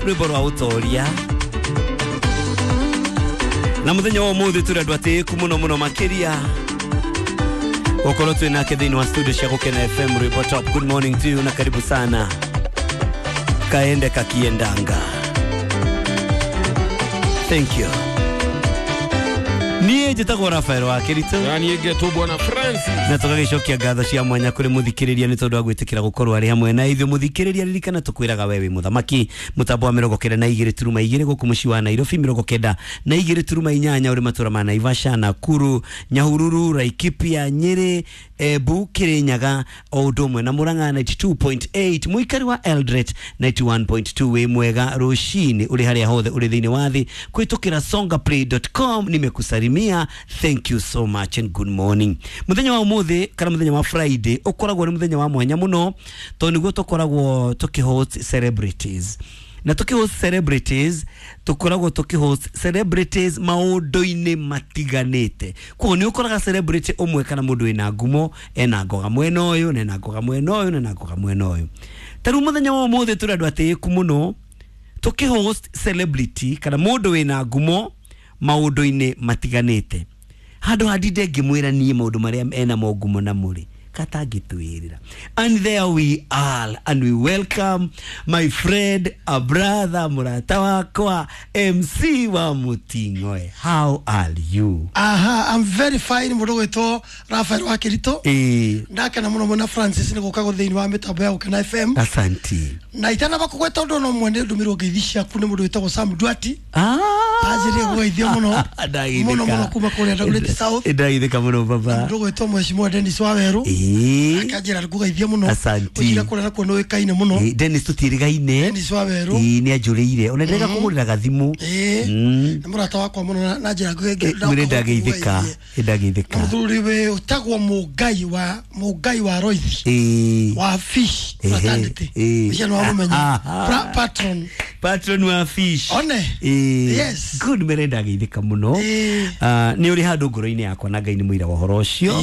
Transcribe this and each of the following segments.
Rwĩmbo rwa ũtoria. Na mũthenya wa ũmũthĩ tũrĩ andũ atĩĩku mũno mũno makĩria gũkorwo twĩ nake thĩinĩ wa studio cia Gũkena FM Rwĩmbo Top. Good morning to you na karibu sana. Kaende kakiendanga. Thank you. Niĩ njĩtagwo Rafael wa Kĩritũ. Na niĩ ngetwo Bwana Francis. Na tũgagĩcokia ngatho cia mwanya kũrĩ mũthikĩrĩria nĩ tondũ wa gwĩtĩkĩra gũkorwo arĩ hamwe na ithuĩ. Mũthikĩrĩria, ririkana tũkwĩraga we wĩ mũthamaki. Mũtambo wa 92.2 gũkũ mũciĩ wa Nairobi, 92.8 ũrĩ matũra ma Naivasha, Nakuru, Nyahururu, Laikipia, Nyĩrĩ, Embu, Kirinyaga o ũndũ ũmwe na Murang'a 92.8, mũikari wa Eldoret 91.2. Wĩ mwega rũcinĩ ũrĩ harĩa hothe ũrĩ thĩinĩ wa thĩ kũhĩtũkĩra songaplay.com. Nimekusalimia, thank you so much and good morning. Mũthenya wa ũmũthĩ kana mũthenya wa Friday ũkoragwo nĩ mũthenya wa mwanya mũno tondũ nĩguo tũkoragwo tũkĩhost celebrities, na tũkĩhost celebrities tũkoragwo tũkĩhost celebrities maũndũ-inĩ matiganĩte. Koguo nĩ ũkoraga celebrity ũmwe kana mũndũ wĩna ngumo ena ngoga mwena ũyũ na ena ngoga mwena ũyũ na ena ngoga mwena ũyũ. Ta rĩu mũthenya wa ũmũthĩ tũrĩ andũ atĩĩku mũno tũkĩhost celebrity kana mũndũ wĩna ngumo maũndũ-inĩ matiganĩte. Handũ handinde ngĩmwĩra niĩ maũndũ marĩa ena ngumo na mũrĩ katangĩtwĩrĩra. And there we are, and we welcome my friend, a brother, mũrata wakwa, MC wa Muting'oe. How are you? Aha, I'm very fine, mũndũ gwĩtwo Rafael wa Kĩritũ. Ndakena mũno mwena Francis nĩ gũka thĩinĩ wa mĩtambo ya Gũkena FM. Asanti. Na itanamba kũgweta ũndũ no mwene ndũmĩrwo ngeithi ciaku nĩ mũndũ wĩtagwo Sam Duati. Ah. Anjĩrĩe kũgeithio mũno. Ndagithĩka. Mũno mũno kuma kũrĩa Dagoretti South. Ndagithĩka mũno baba. Mũndũ gwĩtwo Mheshimiwa Dennis Wawerũ. Akanjĩra ngũgeithie mũno. Asanti. Ũnjĩra kũrĩa nakuo nĩũĩkaine mũno. Dennis tũtiĩrĩgaine. Dennis Wawerũ. Nĩ anjũrĩire ona ndĩrega kũgũrĩra gathimũ. Nĩ mũrata wakwa mũno na njĩra Mwĩrĩ ndagĩithĩka, ndagĩithĩka. Na mũthuri wĩ ũtagwo Mũngai wa Roithi. Wa Fish Fraternity. Ũcio nĩ wamũmenya. Patron. Patron wa Fish. One. Yes. Good, mere ndagĩithĩka mũno. Ah, nĩ ũrĩ handũ ngoro-inĩ yakwa na Ngai nĩ mũira wa ũhoro ũcio.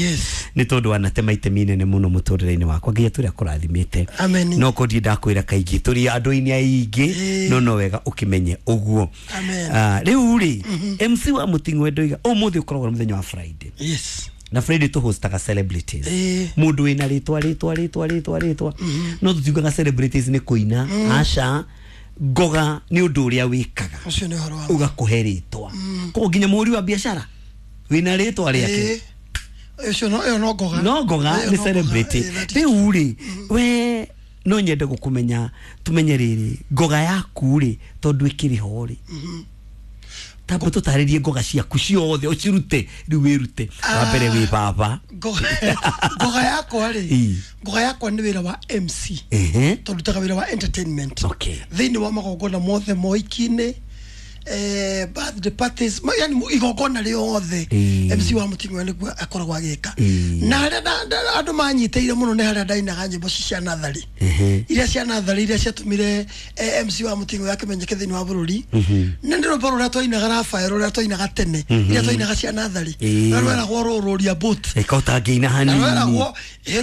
Nĩ tondũ wanatema itemi inene mũno mũtũrĩre-inĩ wakwa. Ngai atũrĩa kũrathimĩte. Amen. No ko ndirĩ ndakwĩra kaingĩ tũrĩ andũ-inĩ aingĩ. No wega ũkĩmenye ũguo. Amen. Ah, rĩu rĩ, MC wa Muting'oe ndoiga ũmũthĩ ũkoragwo nĩ mũthenya wa Friday. Na Friday tũhostaga celebrities, mũndũ wĩna rĩtwa rĩtwa rĩtwa rĩtwa rĩtwa. No tũtiugaga celebrities nĩ kũina, aca. Ngoga nĩ ũndũ ũrĩa wĩkaga Ũcio nĩ ũhoro wa ũgakũhe rĩtwa. Koguo nginya mũhũri wa biacara wĩna rĩtwa rĩake. Ũcio no ĩyo no ngoga. No ngoga. Ĩyo Nĩ no ngoga. celebrity. That is Rĩu rĩ, we no nyende gũkũmenya, tumenye rĩrĩ ngoga yaku rĩ, tondũ ĩkĩrĩ ho rĩ, tamba tũtarĩrie ngoga ciaku ciothe ũcirute rĩu wĩrute. Wa mbere wĩ baba. Ngoga yakwa rĩ, ngoga yakwa nĩ wĩra wa MC. Tondutaga wĩra wa entertainment thĩinĩ wa magongona mothe, moiki-inĩ, birthday parties, yani igongona rĩothe, MC wa Muting'oe nĩguo akoragwo agĩka. Na harĩa andũ manyitĩire mũno nĩ harĩa ndainaga nyĩmbo ci cia natharĩ, iria cia natharĩ iria ciatũmire MC wa Muting'oe akĩmenyeke thĩinĩ wa bũrũri. Na nĩ rwĩmbo rũrĩa twainaga, Rafael, rũrĩa twainaga tene, iria twainaga cia natharĩ, rũrĩa rweragwo rũrũria boat. Ĩka ũtangĩina Na hanini. rweragwo ĩrũ.